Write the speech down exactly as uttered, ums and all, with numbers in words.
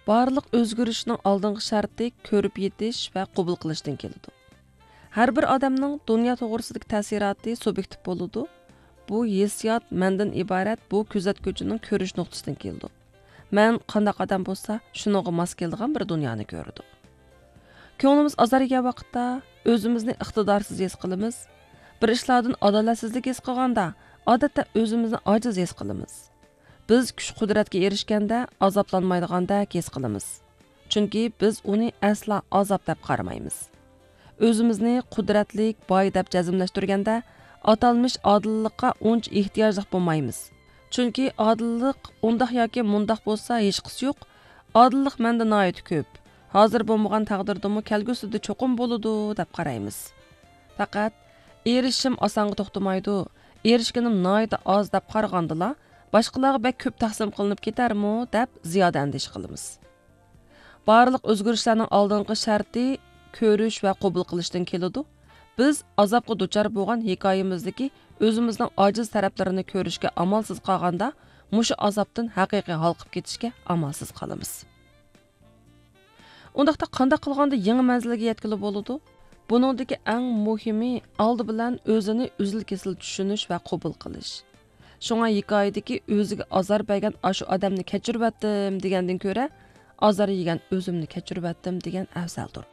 بارلىق ئۆزگىرىشنىڭ ئالدىنقى شەرتى كۆرۈپ يېتىش ۋە قوبۇل قىلىشتىن كېلىدۇ. ھەر بىر ئادەمنىڭ دۇنيا توغرىسىدىكى تەسىراتى سۇبيېكتىپ بولىدۇ. بۇ ھېسسىيات مەندىن ئىبارەت بۇ كۆزەتكۈچىنىڭ كۆرۈش نۇقتىسىدىن كېلىدۇ. مەن قانداق ئادەم بولسا، شۇنىڭغا ماس كېلىدىغان بىر دۇنيانى كۆرىدۇ. كۆڭلىمىز ئازار يېگەن ۋاقىتتا، ئۆزىمىزنى ئىقتىدارسىز ھېس قىلىمىز. بىر ئىشلاردىن ئادالەتسىزلىك ھېس قىلغاندا، ئادەتتە ئۆزىمىزنى ئاجىز ھېس قىلىمىز. بىز كۈچ قۇدرەتكە ئېرىشكەندە، ئازابلانمايدىغاندەك ھېس قىلىمىز. چۈنكى بىز ئۇنى ئەسلا ئازاب دەپ قارىمايمىز. ئۆزىمىزنى قۇدرەتلىك، باي دەپ جەزملەشتۈرگەندە، ئاتالمىش ئادىللىققا ئۇنچە ئېھتىياجلىق بولمايمىز. چۈنكى ئادىللىق ئۇنداق ياكى مۇنداق بولسا ھېچقىسى يوق، ئادىللىق مەندە ناھايىتى كۆپ، ھازىر بولمىغان تەقدىردىمۇ كەلگۈسىدە چوقۇم بولىدۇ، دەپ قارايمىز. پەقەت ئېرىشىشىم ئاسانغا توختىمايدۇ، ئېرىشكىنىم ناھايىتى ئاز دەپ قارىغاندىلا، باشقىلارغا بەك كۆپ تەقسىم قىلىنىپ كېتەرمۇ، دەپ زىيادە ئەندىشە قىلىمىز. بارلىق ئۆزگىرىشلەرنىڭ ئالدىنقى شەرتى كۆرۈش ۋە قوبۇل قىلىشتىن كېلىدۇ. بىز ئازابقا دۇچار بولغان ھېكايىمىزدىكى ئۆزىمىزنىڭ ئاجىز تەرەپلىرىنى كۆرۈشكە ئامالسىز قالغاندا، مۇشۇ ئازابتىن ھەقىقىي ھالقىپ كېتىشكە ئامالسىز قالىمىز. ئۇنداقتا قانداق قىلغاندا يېڭى مەنزىلگە يەتكىلى بولىدۇ؟ بۇنىڭدىكى ئەڭ مۇھىمى ئالدى بىلەن ئۆزىنى ئۈزۈل-كېسىل چۈشىنىش ۋە قوبۇل قىلىش. شۇڭا ھېكايىدىكى ئۆزىگە ئازار بەرگەن ئاشۇ ئادەمنى كەچۈرۈۋەتتىم دېگەندىن كۆرە، ئازار يېگەن ئۆزۈمنى كەچۈرۈۋەتتىم دېگەن ئەۋزەلدۇر.